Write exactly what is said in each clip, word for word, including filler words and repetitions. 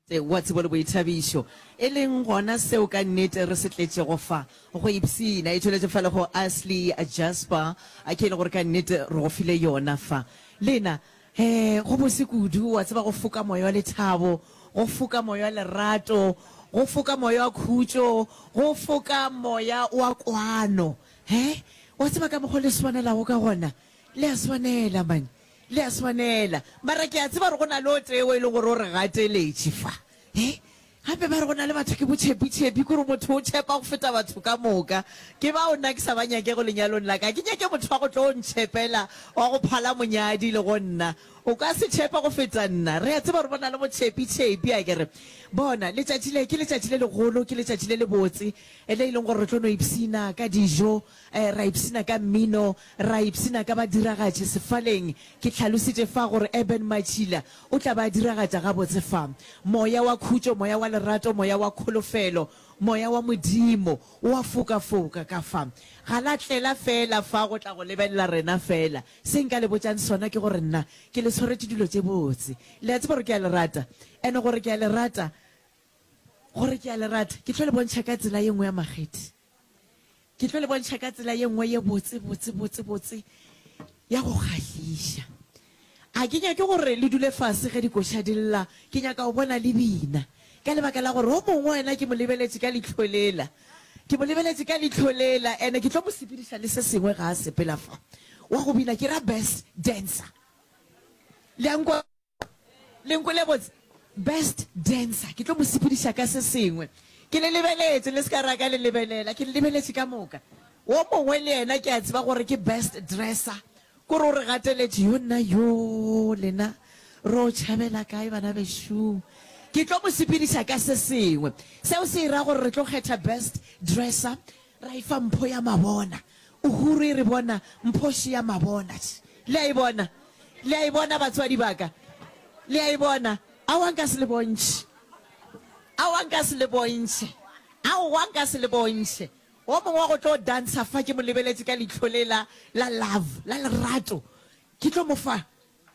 Wa tsebo le boithabišo, e leng gona seo ka nnete re se tletšego fa, go ipshina. E tšweletše fa le go Ashley Jasper, a ke e le gore ka nnete re go file yona fa. Lena, he, go bose kudu, wa tseba, go foka moya wa lethabo, go foka moya wa lerato, go foka moya wa khutšo, go foka moya wa kwano. He, wa tseba ka mokgo le swanelago ka gona? Le a swanela, man. Le a swanela. Mara ke a tseba gore go na le o tee o e leng gore o re gateletše fa. He? Gape ba re go na le batho ke botšhepitšhepi, kore motho o tšhepa go feta batho ka moka. Ke bao nna ke sa ba nyakego lenyalong la ka. Ga ke nyake motho wa go tlo ntšhepela, wa go phala monyadi le go nna. O ka se tšhepe go feta nna. Re a tseba gore go na le botšhepitšhepi, a ke re. Bona, letšatši le ke letšatši le legolo, ke letšatši le lebotse, le e leng gore re tlo no ipshina ka dijo, ra ipshina ka mmino, ra ipshina ka badiragatši sefaleng. Ke hlalositše fa gore Eben Matšhila o tla ba a diragatša gabotse fa. Moya wa khutšo, moya wa lerato, moya wa kholofelo, moya wa Modimo o a fokafoka ka fa. Ga la tlela feela fa go tla go lebelela rena feela. Se nka le botšang sona ke gore nna ke le swaretše dilo tše botse. Le a tseba gore ke a le rata. And gore ke a le rata, gore ke a le rata, ke tlo le bontšha ka tsela ye nngwe ya makgethe. Ke tlo le bontšha ka tsela ye nngwe ye botse, botse, botse, botse, ya go kgahliša. A ke nyake gore le dule fase ge dikoša di lla, ke nyaka go bona le bina. Ka lebaka la gore o mongwe wena ke mo lebeletše ka leihlo lela. Ke mo lebeletše ka leihlo lela, ene ke tlo mo sepediša le se sengwe ga a sepela fa. Wa go bina, ke ra best dancer. Le a nkwa? Le nkwele botse? Best dancer, ke tlo mo sepediša ka se sengwe. Ke le lebeletše, le se ka ra ka le lebelela, ke le lebeletše ka moka. Wo mongwe le yena ke a tseba gore ke best dresser, kore o re gateletše, yo nna yo lena ro tšhabela kae bana bešo. Ke tlo mo sepediša ka se sengwe. Seo se ra gore re tlo kgetha best dresser, ra e fa mpho ya mabona. Uhuru e re bona mpho še ya mabona. Le a e bona? Le a e bona batswadi ba ka? Le a e bona? Aowa nka se le bontšhe. Aowa nka se le bontšhe. Aowa nka se le bontšhe. O mongwe wa go tlo dansa fa ke mo lebeletše ka leihlo le la, la love, la lerato. Ke tlo mo fa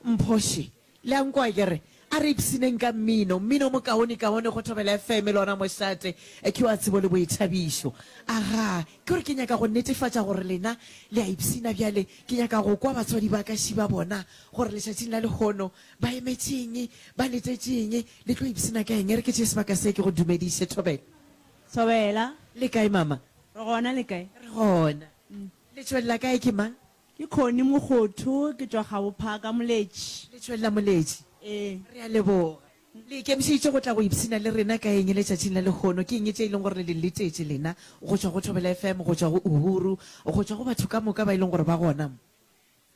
mpho še. Le a nkwa ke re, a re ipshineng ka mmino, mmino mokaone kaone go Thobela F M le ona mošate, ke wa tsebo le boithabišo. Aga, ke gore ke nyaka go netefatša gore lena le a ipshina bjale, ke nyaka go kwa batswadi ba ka šiba bona gore letšatšing la lehono ba emetšeng, ba letetšeng, le tlo ipshina ka eng. E re ke tšee sebaka se ke go dumediše, Thobela. Thobela. Le kae mama? Re gona, le kae? Re gona. Le tšwelela kae ke mang? Ke Connie Mokgotho, ke tšwa Gabophaka Moletši. Le tšwelela Moletši? Ee. Re a leboga. Le ikemišeditše go tla go ipshina le rena ka eng letšatšing la lehono? Ke eng tše e leng gore le di letetše lena go tšwa go Thobela F M, go tšwa go Uhuru, go tšwa go batho ka moka ba e leng gore ba gona mo?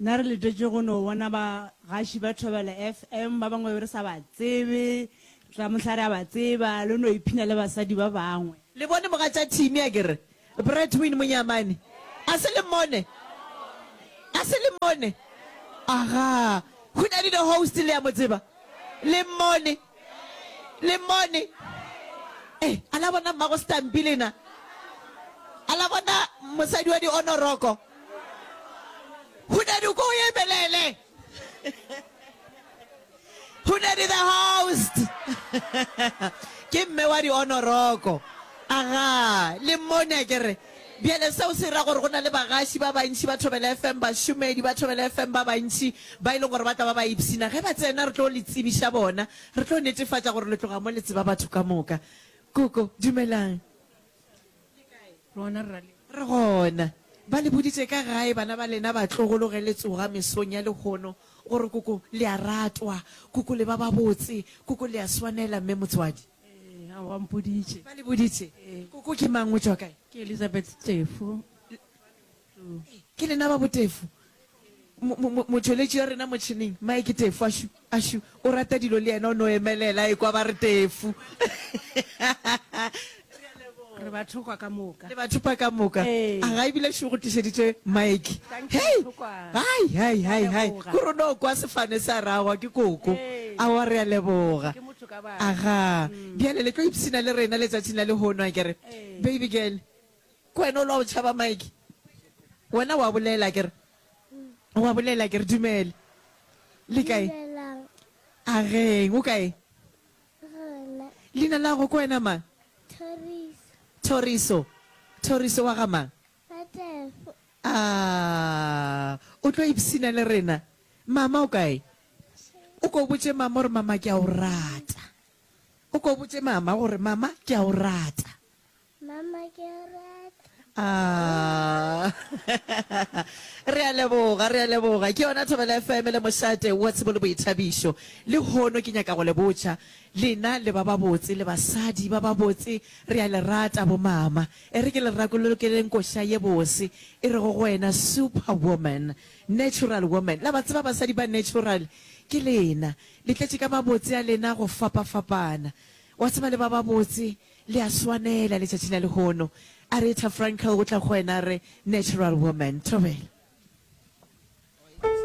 Nna re letetše go no bona bagaši ba Thobela F M, ba bangwe be re sa ba tsebe, tla mohla re a ba tseba, le no iphina le basadi ba bangwe. Le bone mogatša Timmy a ke re, Bradwin Monyamane, a se le mmone? A se le mmone? Aga, Hunadi the host le a mo tseba? Le mmone? Le mmone? Eh, a la bona mmago Stampi lena? A la bona mosadi wa di-honoroko? Hunadi o ko o emelele. Hunadi the host. Ke mme wa di-honoroko. Aga, le mmone a ke re. Bjale seo se ra gore go na le bagaši ba bantši ba Thobela F M, bašomedi ba Thobela F M ba bantši ba e leng gore ba tla ba ba ipshina. Ge ba tsena re tlo le tsebiša bona, re tlo netefatša gore le tloga mo le tseba batho ka moka. Koko, dumelang. Rona re ra le. Re gona. Ba le boditše ka gae bana ba lena batlogolo ge le tsoga mesong ya lehono gore koko le a ratwa, koko le ba babotse, koko le a swanela mme motswadi. Ee, aowa, mpoditše. Ba le boditše? Ee. Koko ke mang, o tšwa kae? Ke Elizabeth Tefo. Ke lena ba boTefo. Mo, mo, mo, motšweletši wa rena motšheneng, Mike Tefo, ašu, ašu, o rata dilo le yena o no emelela, e kwa ba re Tefo. Re ba thokwa ka moka. Le ba thopa ka moka. Ee. A ga ebile šo go tlišeditše Mike. Thank you, Hei! Thokwa. Hai, hai, hai, hai. Leboga. Kore o no kwa sefane sa ragwa ke koko. Ee. Aowa, re a leboga. Ke motho ka batho. Aga. Mm. Bjale le tlo ipshina le rena letšatšing la lehono, a ke re. Ee. Baby girl, ke wena o lwa go tšhaba Mike? Wena wa bolela, a ke re? Wa bolela, a ke re? Dumela. Le kae? Dumelang. Ageng, o kae? Gona. Leina la go ke wena mang? Thoriso. Thoriso. Thoriso wa ga mang? Ga Tefo. A o tlo ipshina le rena? Mama o kae? O ko botše mama gore mama ke a o rata. O ko botše mama gore mama ke a o rata. Mama ke a o rata. Ah. Re a leboga, re a leboga. Ke yona Thobela F M le mošate wa tsebo le boithabišo. Lehono ke nyaka go le botša, lena le ba babotse, le basadi ba babotse, re a le rata bomama. E re ke le rakolokeleng koša ye bose e rego go wena superwoman, natural woman. La ba tseba basadi ba natural ke lena. Le tletše ka mabotse a lena go fapafapana. Wa tseba le ba babotse, le a swanela letšatšing la lehono. Aretha Frankel o tla go wena a re natural woman. Thobela.